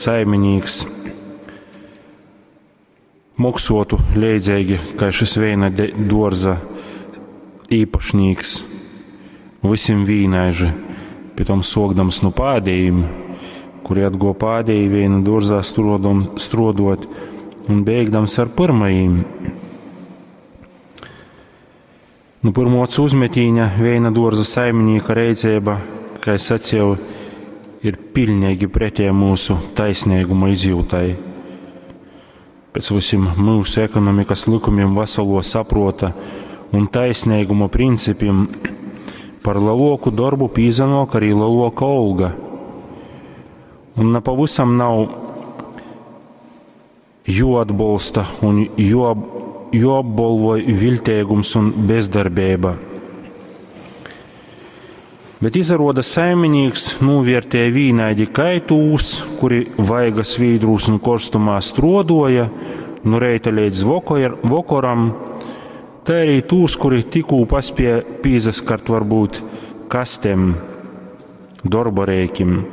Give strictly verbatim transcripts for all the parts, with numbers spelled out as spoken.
Saiminīks moksuotu leidzeigi kai šys veina duorza īpašnīks, vysim vīnaiži, pitom suokdams nu pādejim, kuri atguo pādeji veina duorzā struodom, struoduot, un beigdams ar pyrmajim. Nu pyrmuo ocu uzmetīņa veina duorza saiminīka reiceiba, kai saceju, ir piļneigi pretēja myusu taisneiguma izjūtai. Pēc vysim myusu ekonomikas lykumim, vasaluo sapruota un taisneiguma principim par leluoku dorbu pīsanuok arī leluoka olga. Un na pavysam nav juoatbolsta un juo, juoapbolvoj viļteigums un bezdarbeiba. Bet izaruoda, saiminīks nūviertēja vīnaidi kai tūs, kuri vaiga svīdrūs un korstumā struoduoja nu reita leidz vokoram, tai arī tūs, kuri tikkū paspēja pīsaskart varbūt kastem, dorba reikim.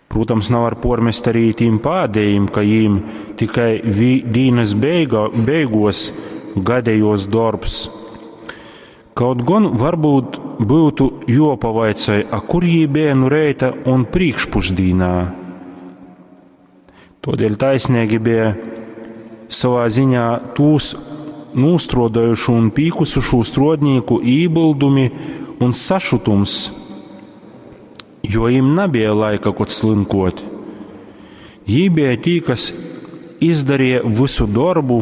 Prūtams, navar puormest arī tīm pādejim, ka jīm tikai dīnys beiga, beiguos gadejuos dorbs. Kaut gon varbūt byutu juopavaicoj, a kur jī beja nu reita un prīškpušdīnā. Tuodeļ taisneigi beja sovā ziņā tūs nūstruoduojušu un pīkusušū struodnīku ībyldumi un sašutums, jo jim nabeja laika kod slynkuot. Jī beja tī, kas izdarīja vysu dorbu,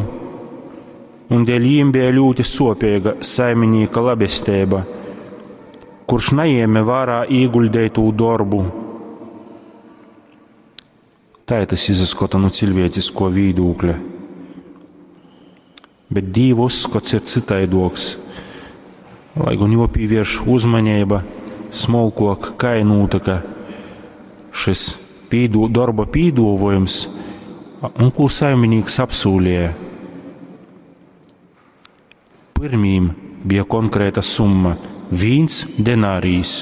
un dēļ jīm beja ļūti suopeiga saiminīka labesteiba, kurš najēme vārā īguļdeitū dorbu. Tai tas izaskota nu ciļvieciskuo vīdūkļa. Bet Dīva uzskots ir cytaiduoks, lai gon juopīvierš uzmaneiba smolkuok, kai nūtyka šys pīdū, dorba pīduovuojums un kū saiminīks apsūlēja. Pyrmīm bija konkrēta summa – vīns denārijs,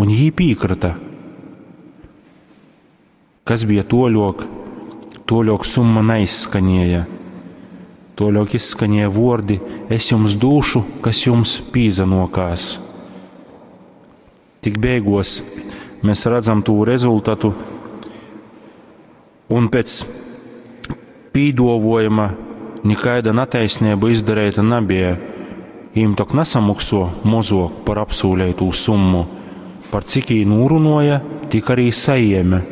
un jī pīkryta. Kas bija tuoļuok? Tuoļuok summa naizskanēja. Tuoļuok izskanēja vuordi: "Es jums dūšu, kas jums pīsanuokās." Tik beiguos mēs redzam tū rezultatu, un pēc pīduovuojuma nikaida nataisneiba izdareita nabeja. Jīm tok nasamoksuo mozuok par apsūleitū summu. Par cik jī nūrunuoja, tik arī sajēme.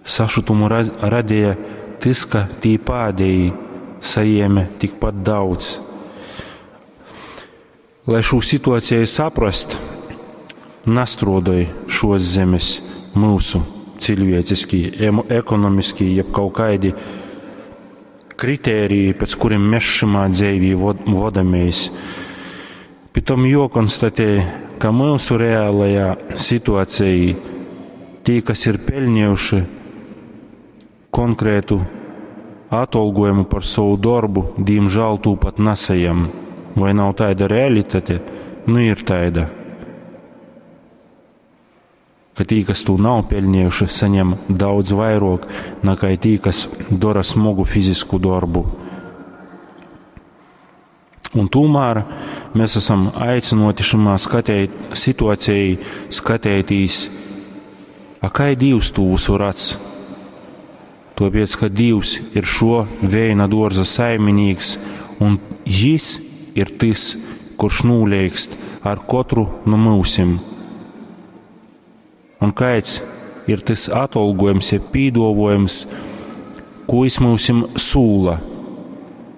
Sašutumu radeja tys, ka tī pādejī sajēme tikpat daudz. Lai šū situaceju saprast, nastruodoj šuos zemes myusu ciļvieciskī, ekonomiskī, jeb kaut kaidi kritēriji, pēc kurim mēs šymā dzeivī vodamies. Pitom juokonstatē, ka myusu realajā situacejī tī, kas ir peļnejuši konkrētu atolgojumu par sovu dorbu, dīmžāl tū pat nasajam. Voi nav taida realitate? Nu ir taida. Ka tī, kas tū nav peļnejuši, saņem daudz vairuok nakai tī, kas dora smogu fizisku dorbu. Un tūmār mēs esam aicynuoti šymā skateit, situacejī skateitīs, a kai Dīvs tū vysu radz? Tuopiec, ka Dīvs ir šo veina duorza saiminīks, un Jis ir tys, kurš nūleigst ar kotru nu myusim. Un kaids ir tys atolgojums, jeb pīduovuojums, kū jis myusim sūla?